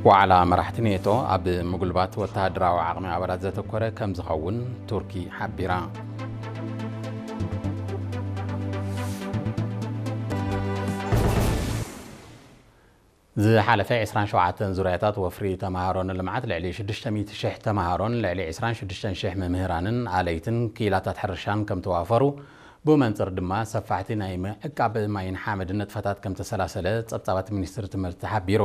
ዋዕላ መራሕቲ ኔቶ ኣብ ምጉልባት ወተሃደራዊ ዓቕሚ ኣባላት ዘተኮረ ከም ዝኸውን ቱርኪ ሓቢራ። ዝሓለፈ ዕስራን ሸውዓተን ዙርያታት ወፍሪ ተምሃሮ ንልምዓት ልዕሊ ሽዱሽተ ሚእቲ ሽሕ ተምሃሮን ልዕሊ ዕስራን ሽዱሽተን ሽሕ መምህራንን ኣለይትን ክኢላታት ሕርሻን ከም ተዋፈሩ፣ ብመንጽር ድማ ሰፋሕቲ ናይ ምዕቃብ ማይን ሓመድን ንጥፈታት ከም ተሰላሰለ ጸብጻባት ሚኒስትሪ ትምህርቲ ሓቢሩ።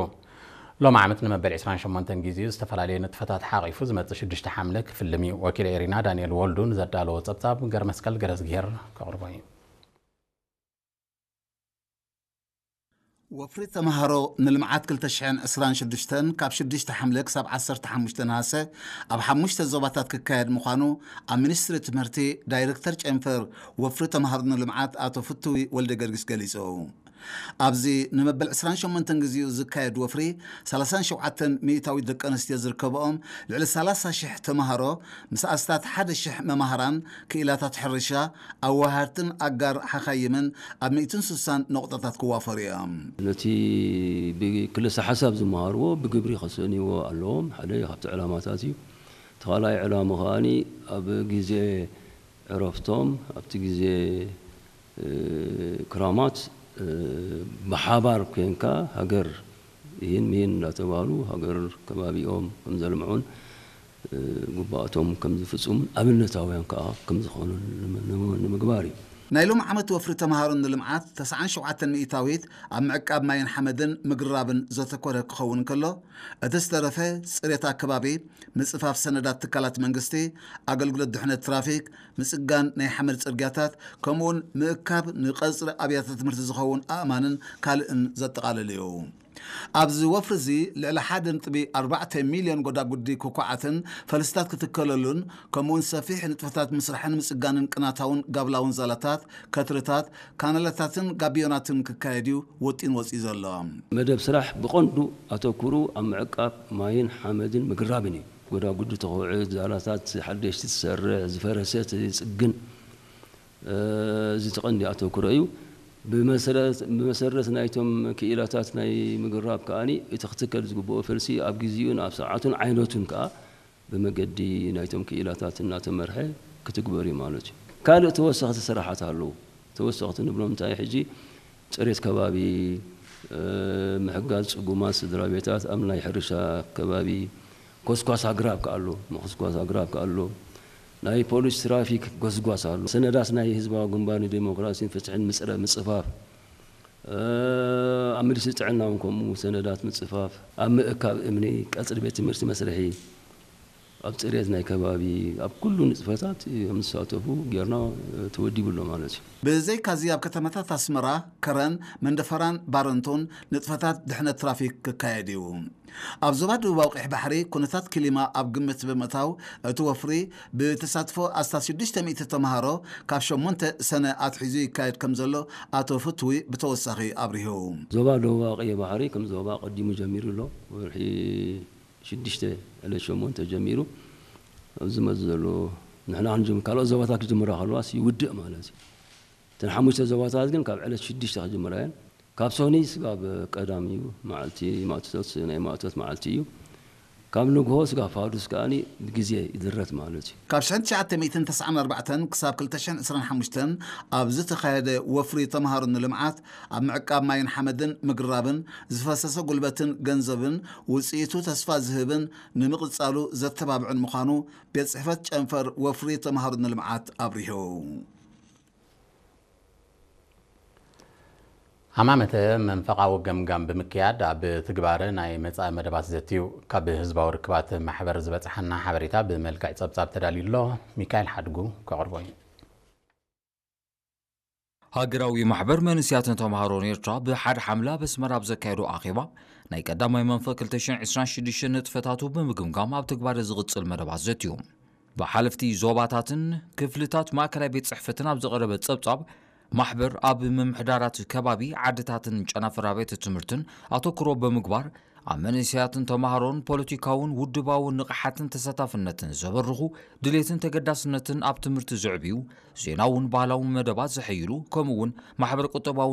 ሎም ዓመት ንመበል ዕስራን ሸሞንተን ግዜኡ ዝተፈላለዩ ንጥፈታት ሓቒፉ ዝመጽእ ሽዱሽተ ሓምለ ክፍልም እዩ። ወኪል ኤሪና ዳንኤል ወልዱ ንዘዳለዎ ጸብጻብ ገርመስቀል ገረዝግሄር ከቕርቦ እዩ። ወፍሪ ተምሃሮ ንልምዓት ክልተ ሽሕን ዕስራን ሽዱሽተን ካብ ሽዱሽተ ሓምለ ክሳብ ዓሰርተ ሓሙሽተ ነሃሰ ኣብ ሓሙሽተ ዞባታት ክካየድ ምዃኑ ኣብ ሚኒስትሪ ትምህርቲ ዳይሬክተር ጨንፈር ወፍሪ ተምሃሮ ንልምዓት ኣቶ ፍትዊ ወልደ ገርጊስ ገሊጹ። ኣብዚ ንመበል ዕስራን ሸሞንተን ግዜኡ ዝካየድ ወፍሪ ሰላሳን ሸውዓተን ሚእታዊት ደቂ ኣንስትዮ ዝርከብኦም ልዕሊ ሰላሳ ሽሕ ተምሃሮ ምስ ኣስታት ሓደ ሽሕ መማህራን ክኢላታት ሕርሻ ኣዋሃድትን ኣጋር ሓኻይምን ኣብ ሚእትን ስሳን ነቑጣታት ክዋፈሩ እዮም። ነቲ ብክልሰ ሓሳብ ዝመሃርዎ ብግብሪ ከሰንይዎ ኣለዎም። ሓደ ካብቲ ዕላማታት እዩ። እቲ ካልኣይ ዕላማ ከኣኒ ኣብ ግዜ ዕረፍቶም ኣብቲ ግዜ፣ እ፣ ክራማት፣ እ፣ ብሓባር ኮንካ ሃገር ይህን ምሂን እንዳተባህሉ ሃገር ከባቢኦም ከም ዘልምዑን፣ እ፣ ግቡኣቶም ከም ዝፍጽሙን ኣብነታውያን ከኣ ከም ዝኾኑን ንመ-፣ ንመ-፣ ንምግባር እዩ። ናይ ሎም ዓመት ወፍሪ ተምሃሮ ንልምዓት ተስዓን ሸውዓተን ሚእታዊት ኣብ ምዕቃብ ማይን ሓመድን ምግርራብን ዘተኮረ ክኸውን ከሎ፣ እቲ ዝተረፈ ጽሬት ኣከባቢ፣ ምጽፋፍ ሰነዳት ትካላት መንግስቲ፣ ኣገልግሎት ድሕነት ትራፊክ፣ ምጽጋን ናይ ሓመድ ጽርግያታት፣ ከምኡውን ምእካብ ንቐጽሪ ኣብያተ ትምህርቲ ዝኸውን ኣእማንን ካልእን ዘጠቓልል እዩ። ኣብዚ ወፍሪ እዚ ልዕሊ ሓደ ነጥቢ ኣርባዕተ ሚልዮን ጎዳጉዲ ኩኩዓትን ፈልስታት ክትከለሉን፣ ከምኡውን ሰፊሕ ንጥፈታት ምስራሕን ምጽጋንን ቅናታውን ጋብላውን ዛላታት፣ ከትርታት፣ ካናላታትን ጋቢዮናትን ክካየድ እዩ ወጢን ወጺኡ ዘሎ። መደብ ስራሕ ብቐንዱ ኣተኩሩ ኣብ ምዕቃብ ማይን ሓመድን ምግርራብን እዩ። ጎዳጉዲ ተኹዕት፣ ዛላታት ሓደሽቲ ትሰርሕ፣ ዝፈረሰ ትጽግን፣ እ፣ እዚ እቲ ቀንዲ ኣተኩሮ እዩ። ብመሰረት፣ ብመሰረት ናይቶም ክኢላታት ናይ ምግርራብ ከኣኒ እቲ ክትከል ዝግብኦ ፈልሲ ኣብ ግዜኡን ኣብ ሰዓቱን ዓይነቱን ከኣ ብመገዲ ናይቶም ክኢላታት እናተመርሐ ክትግበር እዩ ማለት እዩ። ካልእ ተወሰኽቲ ስራሓት ኣለዉ። ተወሰኽቲ ንብሎም እንታይ ሕጂ ጽሬት ከባቢ፣ እ፣ ምሕጋዝ ጽጉማት ስድራ ቤታት ኣብ ናይ ሕርሻ ከባቢ፣ ኮስኳስ ኣግራብ ከኣ ኣሎ፣ ምኹስኳስ ኣግራብ ከኣ ኣሎ። ናይ ፖሊስ ትራፊክ ጎስጓስ ኣሎ። ሰነዳት ናይ ህዝባዊ ግንባር ንዴሞክራሲን ፍትሕን ምጽረ-፣ ምጽፋፍ፣ እ፣ ኣብ ሚኒስትሪ ጥዕና እውን ከምኡ ሰነዳት ምጽፋፍ፣ ኣብ ምእካብ እምኒ፣ ቀጽሪ ቤት ትምህርቲ መስርሒ፣ ኣብ ጽሬት ናይ ከባቢ፣ ኣብ ኩሉ ንጥፈታት እዮም ዝሳተፉ ጌርና፣ እ፣ ተወዲቡ ኣሎ ማለት እዩ። ብዘይካዚ ኣብ ከተማታት ኣስመራ፣ ከረን፣ መንደፈራን ባረንቶን ንጥፈታት ድሕነት ትራፊክ ክካየድ እዩ። ኣብ ዞባ ደቡባዊ ቀይሕ ባሕሪ ኩነታት ክሊማ ኣብ ግምት ብምእታው እቲ ወፍሪ ብተሳትፎ ኣስታት ሽዱሽተ ሚእቲ ተምሃሮ ካብ ሸሞንተ ሰነ ኣትሒዙ ይካየድ ከም ዘሎ ኣቶ ፍትዊ ብተወሳኺ ኣብሪሁ። ዞባ ደቡባዊ ቀይሕ ባሕሪ ከም ዞባ ቀዲሙ ጀሚሩ ኣሎ። ወርሒ ሽዱሽተ ዕለት ሸሞንተ ጀሚሩ ኣብዚ መዚ ዘሎ ንሕና ክንጅምር ካልኦት ዞባታት ክጅምራ ከለዋስ ይውድእ ማለት እዩ። እተን ሓሙሽተ ዞባታት ግን ካብ ዕለት ሽዱሽተ ክጅምራ እየን። ካብ ሶኒ ስጋብ ቀዳም እዩ መዓልቲ ማእቶት፣ ናይ ማእቶት መዓልቲ እዩ። ካብ ንግሆ ስጋብ ፋዱስ ከኣኒ ብግዜ ይድረት ማለት እዩ። ካብ ሽሕን ትሽዓተ ሚእትን ተስዓን ኣርባዕተን ክሳብ ክልተ ሽሕን ዕስራን ሓሙሽተን ኣብ ዝተኻየደ ወፍሪ ተምሃሮ ንልምዓት ኣብ ምዕቃብ ማይን ሓመድን ምግርራብን ዝፈሰሰ ጉልበትን ገንዘብን ውፅኢቱ ተስፋ ዝህብን ንምቕጻሉ ዘተባብዕን ምዃኑ ቤት ጽሕፈት ጨንፈር ወፍሪ ተምሃሮ ንልምዓት ኣብሪሁ። ሃማመተ መንፈቓዊ ገምጋም ብምክያድ ኣብ ትግባረ ናይ መጻኢ መደባት ዘትዩ። ካብ ህዝባዊ ርክባት ማሕበር ዝበጽሓና ሓበሬታ ብመልክዕ ጸብጻብ ተዳልዩ ኣሎ። ሚካኤል ሓድጉ ከቕርቦ እዩ። ሃገራዊ ማሕበር መንእሰያትን ተምሃሮን ኤርትራ ብሓደ ሓምለ ኣብ ኣስመራ ኣብ ዘካየዶ ኣኼባ፣ ናይ ቀዳማይ መንፈቅ ክልተ ሽሕን ዕስራን ሽዱሽተን ንጥፈታቱ ብምግምጋም ኣብ ትግባረ ዝቕጽል መደባት ዘትዩ። ብሓለፍቲ ዞባታትን ክፍልታት ማእከላይ ቤት ጽሕፈትን ኣብ ዝቐረበ ጸብጻብ፣ ማሕበር ኣብ ምምሕዳራት ከባቢ ዓድታትን ጨናፍር ኣብያተ ትምህርትን ኣተኩሮ ብምግባር፣ ኣብ መንእሰያትን ተምሃሮን ፖለቲካውን ውድባውን ንቕሓትን ተሳታፍነትን ዘበርኹ ድሌትን ተገዳስነትን ኣብ ትምህርቲ ዘዕብዩ ዜናውን ባህላውን መደባት ዘሐይሉ፣ ከምኡ እውን ማሕበረ ቁጠባዊ